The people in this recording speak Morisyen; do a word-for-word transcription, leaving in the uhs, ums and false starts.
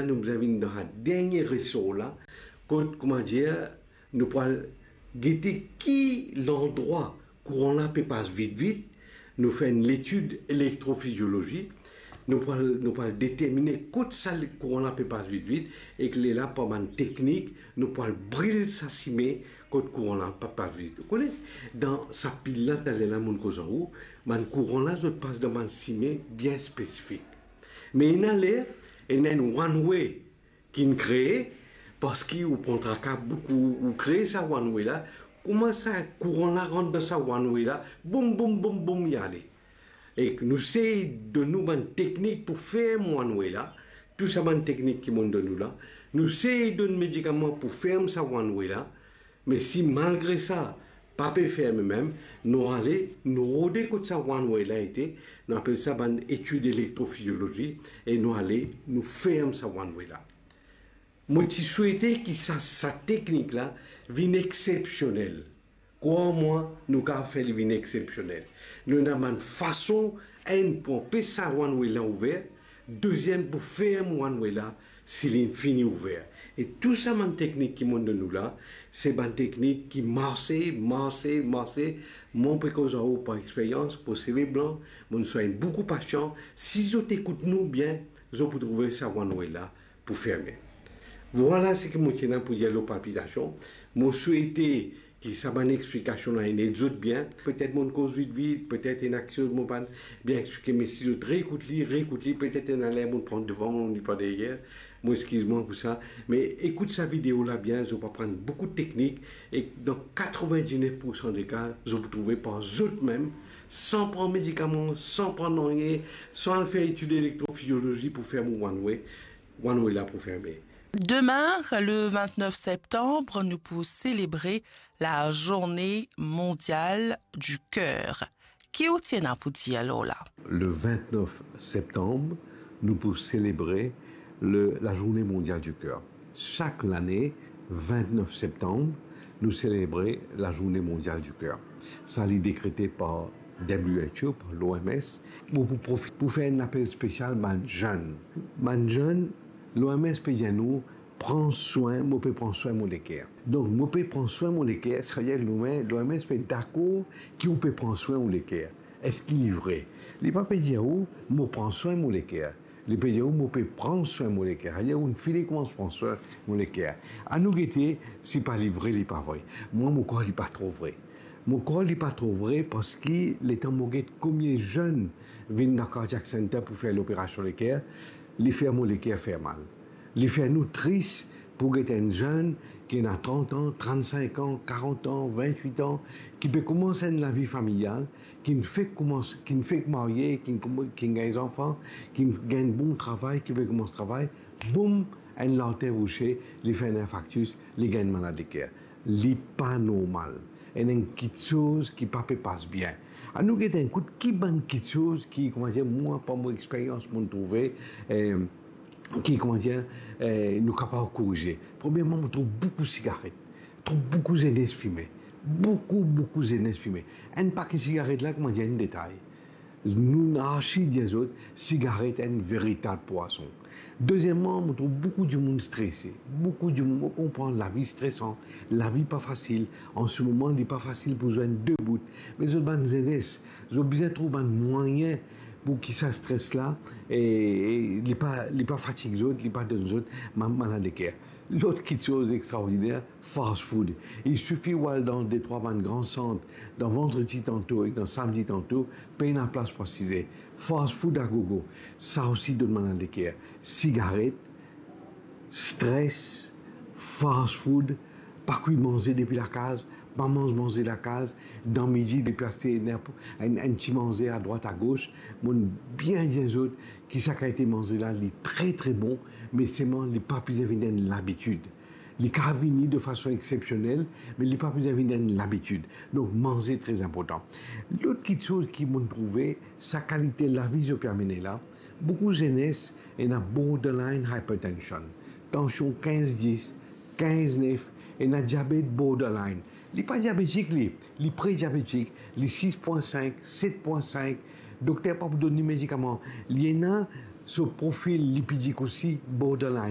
nou bizin vinn dan sa dernie resor la, kot, koumadir, nou pou al gete ki landrwa kouran la pe pas vit vit, nou fer enn letid elektrofiziolozi, nou pou al, nou pou al determine kot sa kouran la pe pas vit vit, ek lerla par bann teknik, nou pou al bril sa sime kot kouran la pa pas vit. Ou kone, dan sa pil la, taler la mo'nn koz ar ou, bann kouran la, zot pas dan bann sime bien spesifik. Me ena ler, ena enn one way ki'nn kree, parski ou pran traka boukou, ou kree sa one way la, kouma sa kouran la rant dan sa one way la, boum, boum, boum, boum, li ale. Ek nou sey donn ou bann teknik pou ferm one way la, tou sa bann teknik ki mo'nn donn ou la, nou sey donn medikaman pou ferm sa one way la, me si malgre sa, pa pe ferme mem, nou ale, nou rode kot sa one way la ete, nou apel sa bann etid elektrofiziolozi, e nou ale, nou ferm sa one way la. Mo ti swete ki sa, sa teknik la vinn exepsionel. Krwar mwa, nou kapav fer li vinn exepsionel. Nou ena bann fason, enn pou anpes sa one way la ouver, deziem pou ferm one way la, si li fini ouver. E tou sa bann teknik ki mo'nn donn ou la, se bann teknik ki marse, marse, marse. Mo pe koz ar ou par experyans, mo seve blan, mo'nn swagn boukou pasian. Si zot ekout nou bien, zot pou trouve sa one way la pou ferme. Vwala seki mo ti ena pou dir lor palpitasion. Mo swete ki sa bann explikasion la inn ed zot bien. Petet mo'nn koz vit vit, petet ena kiksoz mo pa'nn bien explike, me si zot reekout li, reekout li, petet ena ler mo'nn pran devan, mo'nn li par deryer, mo exkiz mwa pou sa. Me ekout sa video la bien, zot pou aprann boukou teknik, e dan katrevin-diznef poursan de ka, zot pou trouve par zot mem, san pran medikaman, san pran nanye, san al fer etid elektrofiziolozi pou fer mo one way, one way la pou ferme. Demain, le vingt-neuf septembre, nous pour célébrer la journée mondiale du cœur. Ki ou ti ena pou dir lor la? Le vingt-neuf septembre, nous pour célébrer le, la journée mondiale du cœur. Sak lane, vingt-neuf septembre, nou selebre la journée mondiale du cœur. Sa li dekrete par W H O, par l'O M S. Mo pou profit pou fer enn apel spesial bann zenn. Bann zenn, l'O M S pe dir nou, pran swin, mo pe pran swin mo leker. Donk, mo pe pran swin mo leker, savedir l'O M S, l'O M S pe dakor ki ou pe pran swin ou leker. Eski li vre? Li pa pe dir ou, mo pran swin mo leker. Li pe dir ou, mo pe pran swin mo leker. Savedir ou fini koumans pran swin mo leker. Anou gete si pa li vre, li pa vre. Mwa, mo krwar li pa tro vre. Mo krwar li pa tro vre parski letan mo get komie zenn vinn dan Cardiac Center pou fer loperasion leker, li fer mo leker fer mal. Li fer nou tris pou get enn zenn ki ena trant an, trannsink an, karant an, vintwit an, ki pe koumans enn lavi familial, ki'nn fek koumans, ki'nn fek marye, ki'nn koum-, ki'nn gagn zanfan, ki'nn gagn bon travay, ki pe koumans travay, boum, enn larter bouse, li fer enn infarktis, li gagn malad leker. Li pa normal. Ena enn kiksoz ki pa pe pas bien. Anou gete enn kout ki bann kiksoz ki, koumadir, mwa, par mo experyans, mo'nn trouve, eh, ki, koumadir, eh, nou kapav korize. Premierman, mo trouv boukou sigaret. Trouv boukou zenes fime. Boukou, boukou zenes fime. Enn pake sigaret la, koumadir, enn detay. Nou, nou arsi dir zot, sigaret enn veritab pwazon. Dezieman, mo trouv boukou dimoun strese. Boukou dimoun, mo konpran, lavi stresan, lavi pa fasil. An se moman, li pa fasil pou zwenn de bout. Me zot bann zenes, zot bizin trouv bann mwayin pou ki sa stres la, e, e li pa, li pa fatig zot, li pa donn zot ma-, malad leker. Lot kiksoz extraordiner, fast food. Il sifi ou al dan de trwa bann gran sant, dan vandredi tanto ek dan samdi tanto, pena plas pou asize. Fast food a gogo, sa osi donn malad leker. Sigaret, stres, fast food, pa kwi manze depi lakaz, pa manz manze lakaz, dan midi depi aste enn, enn, enn ti manze adrwat agos. Mo'nn bien dir zot ki sa kalite manze la, li tre, tre bon, me selman li pa bizin vinn enn labitid. Li kapav vini de fason exsepsionel, me li pa bizin vinn enn labitid. Donk, manze tre inportan. Lot kiksoz ki mo'nn trouve, sa kalite lavi zot pe amene la, boukou zenes ena borderline hypertension, tansion kinz dis, kinz nef, ena diabet borderline. Li pa diabetik li, li pre-diabetik, li sis pwin sink, set pwin sink. Dokter pa pou donn li medikaman. Li ena So profil lipidik osi borderline.